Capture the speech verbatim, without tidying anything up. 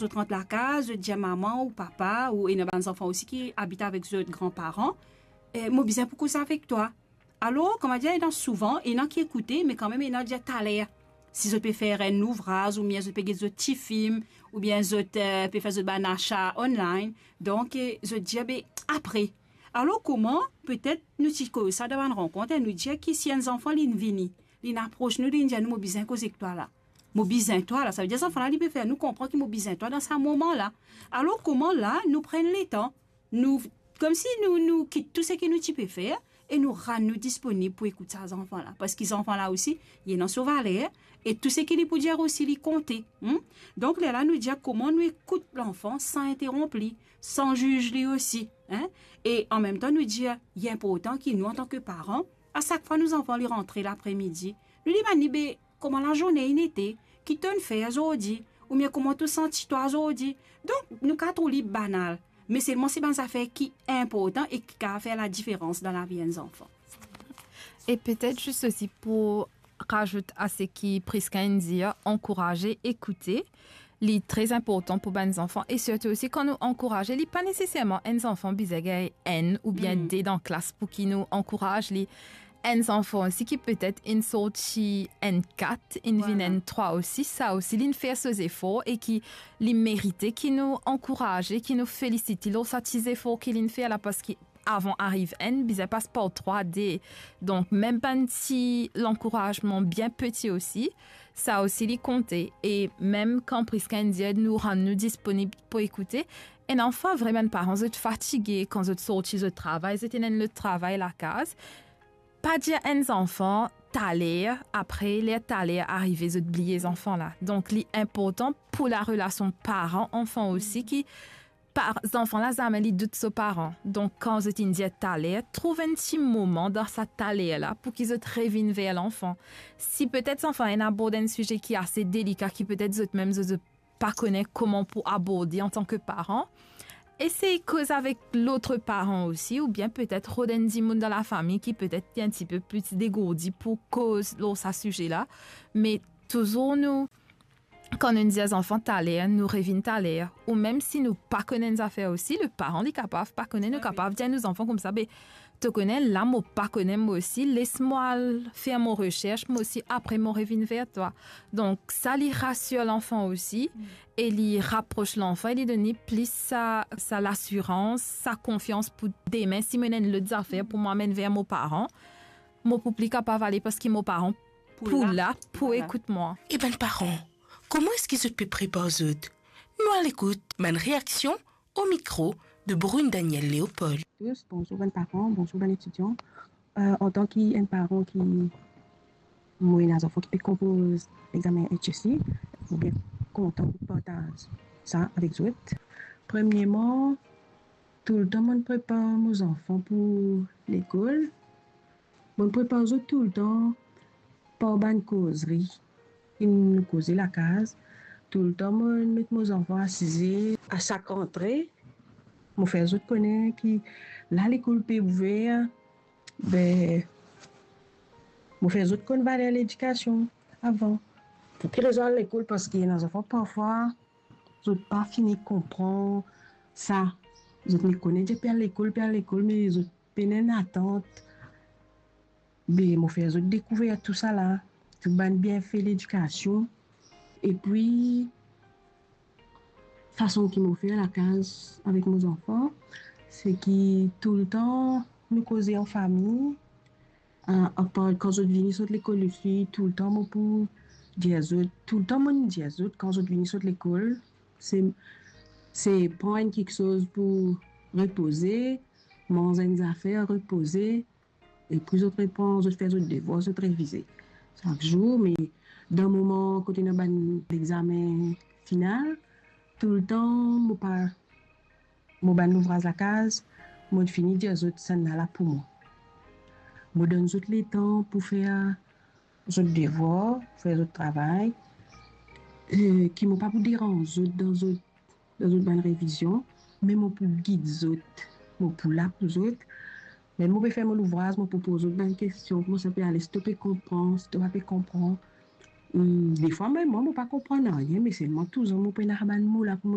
zot rant lakaz, zot dir mama ou papa, ou ena bann zanfan osi ki abit avek zot granparan, eh, "Mo bizin pou koz avek twa." Alor, kouma dir, ena souvan, ena ki ekoute, me kanmem ena dir taler. Si zot pe fer enn louvraz, oubien zot pe get zot tifilm, oubien zot, eh, pe fer zot bann asa online, donk, eh, zot dir, "Be, apre." Alor, kouma, petet, nou ti koz sa dan bann rankont, eh, nou dir ki si enn zanfan, li'nn vini, li'nn apros nou, li'nn dir nou, "Mo bizin koz ek twa la. Mo bizin twa la." Savedir zanfan la, li pe fer nou konpran ki mo bizin twa dan sa moman la. Alor, kouma la, nou pran letan, nou, koumsi nou, nou kit tou seki nou ti pe fer e nou rann nou disponib pou ekout sa zanfan la. Paski zanfan la osi, li ena so valer, e tou seki li pou dir osi, li konte, hmm? Donk, lerla nou dir kouma nou ekout lanfan san interonp li, san ziz li osi, hein? E anmemtan, nou dir, li inportan ki nou, antan ki paran, a sak fwa nou zanfan li rantre lapremidi, nou demann li, "Be, kouma lazourne inn ete? Ki to'nn fer zordi? Oubien kouma to santi twa zordi?" Donk, nou kapav trouv li banal, me selman se bann zafer ki inportan e ki kapav fer ladiferans dan lavi enn zanfan. E petet zis osi pou razout a seki Prisca inn dir, ankouraze ekoute, li tre inportan pou bann zanfan, e sirtou osi kan nou ankouraze, li pa neseserman enn zanfan bizin gagn enn oubien Hmm. de dan klas pou ki nou ankouraz li. Enn zanfan osi ki petet inn sorti enn kat, inn vinn Vwala. enn trwa osi, sa osi, li'nn fer so zefor e ki li merite ki nou ankouraze, ki nou felisit li lor sa ti zefor ki li'nn fer la, paski avan ariv enn, bizin pas par trwa, de. Donk, mem bann ti lankourazman bien peti osi, sa osi li konte. E mem kan Prisca inn dir nou rann nou disponib pou ekoute, ena fwa vre bann paran, zot fatige kan zot sorti zot travay, zot ena enn lot travay lakaz. Pa dir enn zanfan, taler, apre ler taler arive, zot bliye zanfan la. Donk, li inportan pou larelasion paran-anfan osi, ki par, zanfan la zame li dout so paran. Donk, kan zot inn dir taler, trouv enn ti moman dan sa taler la pou ki zot revinn ver lanfan. Si petet zanfan inn abord enn size ki ase delika, ki petet zot mem zot, zot pa kone kouma pou aborde antan ki paran, esey koz avek lot paran osi, oubien petet rod enn dimoun dan lafami ki petet li enn tipe pli degourdi pou koz lor sa size la. Me touzour nou, kan nou dir zanfan taler, nou revinn taler. Ou mem si nou pa kone enn zafer osi, le paran li kapav pa kone, nou Wi, wi. kapav dir nou zanfan koumsa, be, to kone, la mo pa kone mwa osi, les mwa al fer mo resers, mwa osi, apre mo revinn ver twa. Donk, sa li rasir lanfan osi, Mm. e li rapros lanfan, e li donn li plis sa, sa lasirans, sa konfians pou demin, si mo ena enn lot zafer pou mo amenn ver mo paran, mo pou pli kapav ale, paski mo paran Pou pou la. la, pou Vwala. ekout mwa. E bann paran, kouma eski zot pe prepar zot? Nou al ekout bann reaksion o mikro de Brune Daniel Léopold. Tous, bonzour bann paran, bonzour bann etidian. Euh, antan ki enn paran ki mo ena zanfan ki pe konpoz lexamen H S C, mo bien kontan pou partaz sa avek zot. Premierman, toultan mo'nn prepar mo zanfan pou lekol. Mo'nn prepar zot toultan par bann kozri ki nou koze lakaz. Toultan mo'nn met mo zanfan asize. A sak rantre, mo fer zot kone ki la lekol pe ouver, be, mo fer zot konn valer ledikasion avan. Pou ki rezon al lekol? Paski ena zanfan parfwa, zot pa fini konpran sa. Zot inn kone dir pe al lekol, pe al lekol, me zot pena enn atant. Be, mo fer zot dekouver tousala, tou bann bienfe ledikasion. Epi, fason ki mo fer lakaz avek mo zanfan, se ki toultan nou koze an fami, a, apar kan zot vini sot lekol osi, toultan mo pou dir zot, toultan mo'nn dir zot, kan zot vini sot lekol, se, se pran enn kiksoz pou repoze, manz enn zafer, repoze, epi zot repran, zot fer zot devwar, zot revize sak zour. Me dan moman kot ena bann lexamen final, toultan mo pa, mo bann louvraz lakaz, mo'nn fini dir zot, "Sannla la pou mwa." Mo donn zot letan pou fer zot devwar, fer zot travay, e ki mo pa pou deranz zot dan zot, dan zot bann revizion, me mo pou gid zot, mo pou la pou zot. Ler mo pe fer mo louvraz, mo pou poz zot bann kestion, kouma sa pe ale, si to pe konpran, si to pa pe konpran. Hmm, defwa mem mwa, mo pa konpran nanye, me selman touzour mo pena bann mo la pou mo